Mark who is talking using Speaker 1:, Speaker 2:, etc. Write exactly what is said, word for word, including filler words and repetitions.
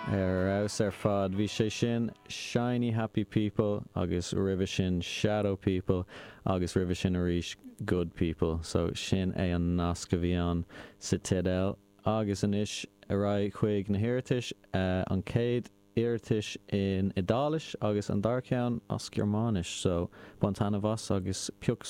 Speaker 1: Ar fheabhas ar fad bhí sé sin Shiny Happy People agus roimhe sin Shadow People agus roimhe sin arís Good People, so sin é an nasc a bhí ann sa teideal agus anois ar aghaidh chuig na hiarratais uh, an chéad iarratas in Iodáilis agus an dara ceann as Gearmáinis, so bain taitneamh as agus pioc